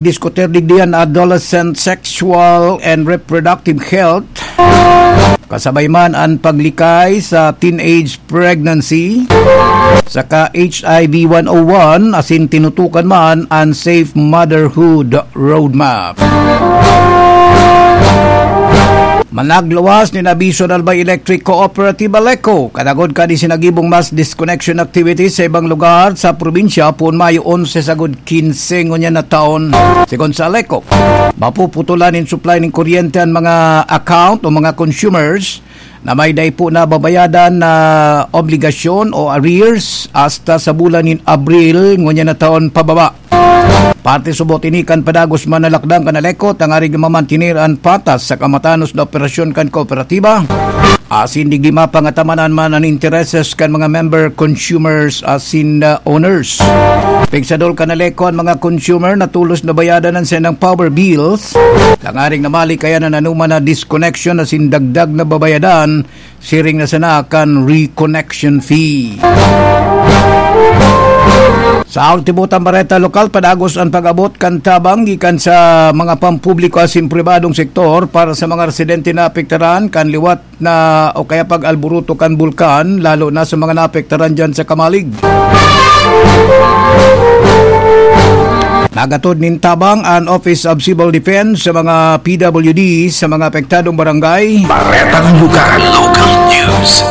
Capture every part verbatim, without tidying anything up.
diskutir digdi an adolescent sexual and reproductive health, kasabay man an paglikay sa teenage pregnancy, saka H I V one oh one, asin tinutukan man an Safe Motherhood Roadmap. Managluwas nin abiso an Albay Electric Cooperative Aleco, kadagod kan isinagibong mass disconnection activities sa ibang lugar sa probinsya, poon Mayo onse sagod kinse ngunyan na taon. Sigon sa Aleco, mapuputulan nin supply nin kuryente an mga account o mga consumers na may dai po nababayadan na obligasyon o arrears hasta sa bulan nin Abril ngunyan na taon pababa. Parte subot ini kan padagos man na lakdang kan Aleco tangarig mamantener an patas sa kamatanos na operasyon kan kooperatiba, asin digdi mapangatamanan man an intereses kan mga member, consumers asin, ah, owners. Pigsadol kan Aleco an mga consumer na tolos na bayadan an saindang power bills, tangaring namalikayan an anoman na disconnection asin dagdag na babayadan, siring na sana kan reconnection fee. Sa ultimo tang bareta lokal, padagos an pag-abot kan tabang gikan sa mga pampubliko asin pribadong sektor para sa mga residente na apektaran kan liwat na o kaya pag-alboroto kan bulkan, lalo na sa mga naapektaran dyan sa Camalig. Nagatod nin tabang an Office of Civil Defense sa mga P W D sa mga apektadong barangay. Baretang lugar, local news.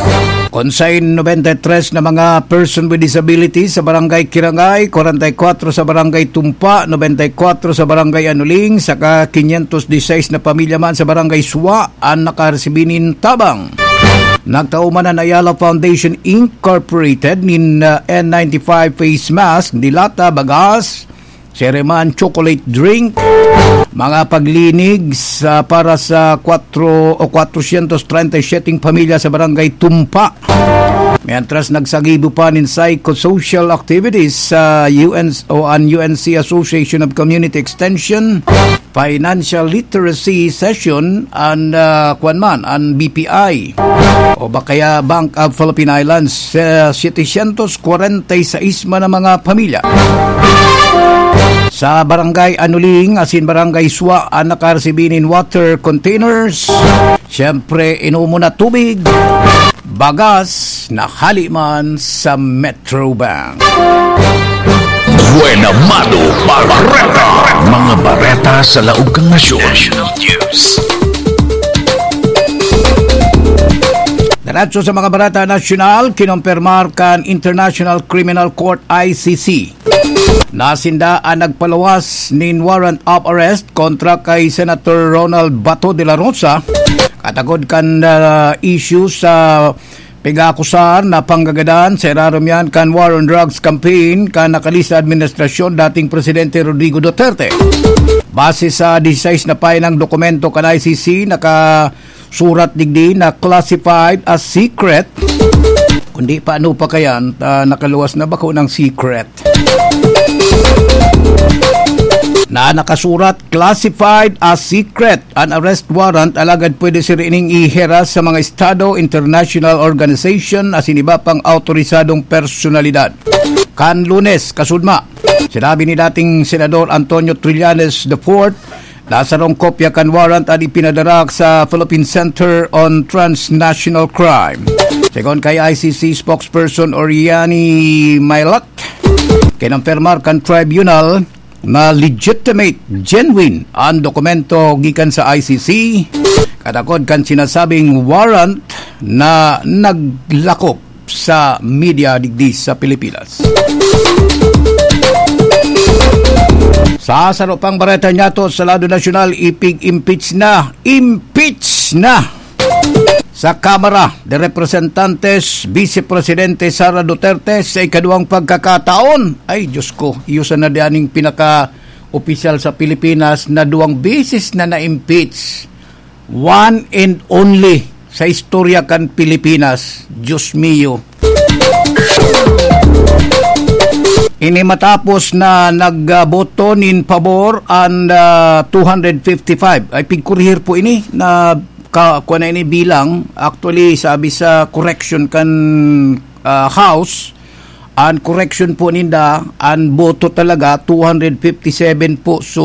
Konsayn nobenta y tres na mga person with disability sa Barangay Kirangay, kwarenta y kwatro sa Barangay Tumpa, nobenta y kwatro sa Barangay Anuling, saka quinientos dieciséis na pamilya man sa Barangay Suwa an nakaresibi nin tabang. Nagtao man an Ayala Foundation Incorporated nin, ah, N ninety-five face mask, dilata, bagas, siring man chocolate drink, mga paglinig sa, para sa kwatro o kwatrosyentos treinta y siyete pamilya sa Barangay Tumpa. Mientras nagsagibo pa nin psychosocial activities sa U N o an U N C Association of Community Extension, financial literacy session an, ah, kwan man, an B P I o ba kaya Bank of Philippine Islands, sa setecientos kwarenta y seis man na mga pamilya. Sa Barangay Anuling asin Barangay Suwa an nakaresibi nin water containers. Siyempre, inumo na tubig, bagas, na hali man sa Metro Bank. Buena Mano Bareta. Mga bareta sa laog kan nasyon. National News. Diretso sa mga bareta nasyonal, kinumpirmar kan International Criminal Court, I C C, na sinda an nagpaluwas nin warrant of arrest kontra kay Senator Ronald Bato de la Rosa, katakod kan, ah, issue sa pag-aakusar na panggagadan sa irarom niyan kan War on Drugs campaign kan nakalista administrasyon dating Presidente Rodrigo Duterte. Base sa dieciséis na pahinang dokumento kan I C C, nakasurat digdi na classified as secret. Kundi paano pa kayan, ah, nakaluwas na bako ng secret? Na nakasurat, classified as secret an arrest warrant, alagad pwede sira ining ihiras sa mga estado, international organization, asin iba pang awtorisadong personalidad. Kan Lunes, kasudma, sinabi ni dating Senador Antonio Trillanes the fourth na sarong kopya kan warrant an ipinadara sa Philippine Center on Transnational Crime. Segun kay I C C spokesperson Oriani Mailat, kinumpirmar kan tribunal na legitimate, genuine an dokumento gikan sa I C C, katakod kan sinasabing warrant na naglakop sa media digdi sa Pilipinas. Sa saro pang bareta niyato sa lado nasyonal, ipig-impeach na, impeach na sa Kamara de Representantes, Vice Presidente Sara Duterte sa ikaduwang pagkakataon. Ay, Diyos ko, iyo sana dianing pinaka-opisyal sa Pilipinas na duwang beses na na-impeach. One and only sa istorya kan Pilipinas. Diyos mio. Ini matapos na nagboto nin pabor an, ah, two hundred fifty-five. Ay, pigkurihir po ini na ka, kuwan na ini bilang. Actually, sabi sa correction kan, ah, House, Ang correction po ninda, ang boto talaga, two hundred fifty-seven po. So,